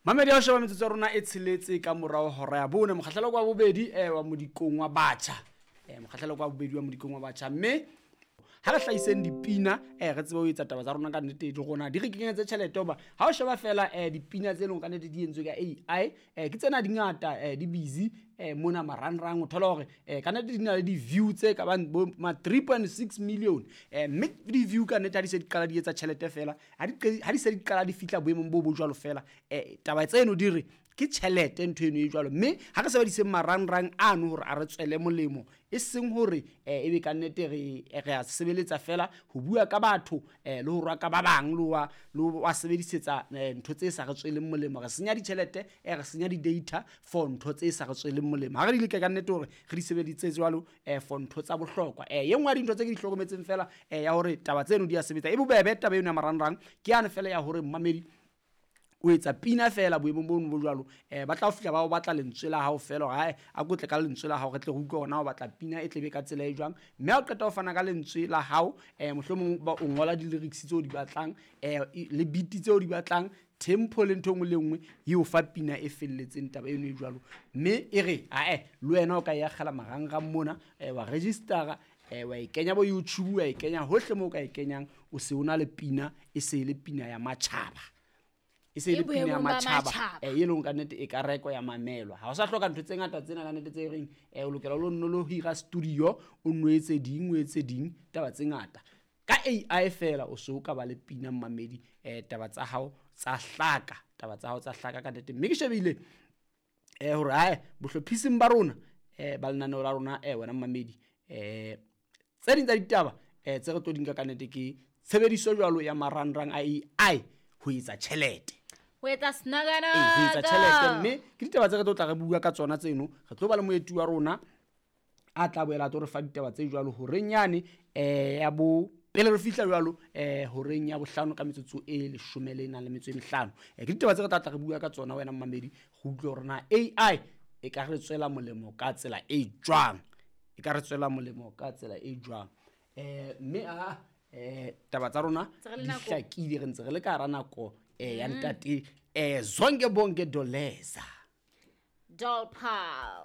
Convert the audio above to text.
Mamedi ya ho sheba metsotso ya rona e tsheletse ka morao hora ya bone, mokgahlelo kwa bobedi wa modikong wa batjha. Mokgahlelo kwa bobedi wa modikong wa batjha, mme ha re hlahiseng dipina re tsebe ho etsa taba tsa rona ka nnete, di rona di re kenyetse tjhelete. Hoba ha o sheba fela dipina tse leng ka nnete di entswe ka AI, ke tsena di ngata, di busy mona marangrang, o thola hore ka nnete di na le di-view tse ka bang bo ma 3.6 million, mme di-view ka nnete ha di se di qala di etsa tjhelete fela, ha di se di qala di fihla boemong bo bo jwalo fela, taba tseno di re ke tjhelete ntho eno e jwalo. Mme ha re sebediseng marangrang ano hore a re tswele molemo, e seng hore ebe ka nnete re a sebeletsa fela ho bua ka batho, le ho rwaka ba bang, le ho wa sebedisetsa ntho tse sa re tsweleng molemo. Re senya ditjhelete, re senya di-data for ntho tse sa re tsweleng molemo. Ha re di leke ka nnete hore re di sebeditse jwalo for ntho tsa bohlokwa. E nngwe ya dintho tse ke di hlokometseng fela ya hore taba tseno di a sebetsa, e bobebe taba eno ya marangrang, ke yane fela ya hore mmamedi o etsa pina fela boemong bono bo jwalo, ba tla o fihla ba o batla lentswe la hao fela hore hae a kotle ka lentswe la hao, re tle re utlwe hore na o batla pina e tlebe ka tsela e jwang. Mme ha o qeta ho fana ka lentswe la hao, mohlomong ba o ngola di-lyrics tseo di batlang, le beat tseo di batlang, tempo le ntho e nngwe le nngwe, e o fa pina e felletseng taba eno e jwalo. Mme e re ae le wena o ka e akgela marangrang mona, wa registera, wa e kenya bo YouTube, wa e kenya hohle moo o ka e kenyang, o se o na le pina, e se e le pina ya matjhaba. E se e le E pina ya boemong ba matjhaba, matjhaba. E leng ka nnete e ka rekwa ya mamelwa. Ha o sa hloka ntho tse ngata tsena ka nnete tse reng, o lokela o lo nno lo hira studio, o nno etse ding, o etse ding, taba tse ngata. Ka AI fela o so ka ba le pina mmamedi, taba tsa hao tsa hlaka, taba tsa hao tsa hlaka ka nnete. Mme ke shebile, hore hae bohlophising ba rona, ba lenaneo la rona, wena mmamedi, tse ding tsa ditaba, tse re tlo di nka ka nnete ke tshebediso jwalo ya marangrang a AI ho etsa tjhelete. Ho etsa snagana. Ee, ho etsa tjhelete. Mme ke ditaba tse re tlo tla re bua ka tsona tseno. Re tlo ba le moeti wa rona a tla boela a tlo re fa ditaba tse jwalo horeng yane, ya bo pele re fihla jwalo, horeng ya bohlano ka metsotso e leshome le nang le metso e mehlano. Ke ditaba tse re tla tla re bua ka tsona wena mmamedi, re utlwe hore na AI e ka re tswela molemo ka tsela e jwang. E ka re tswela molemo ka tsela e jwang. Mme a, taba tsa rona Ntse re le di nakong. hlakile, re ntse re le ka hara nako, ya ntate, Zonke Bonke Doleza. Dolpal.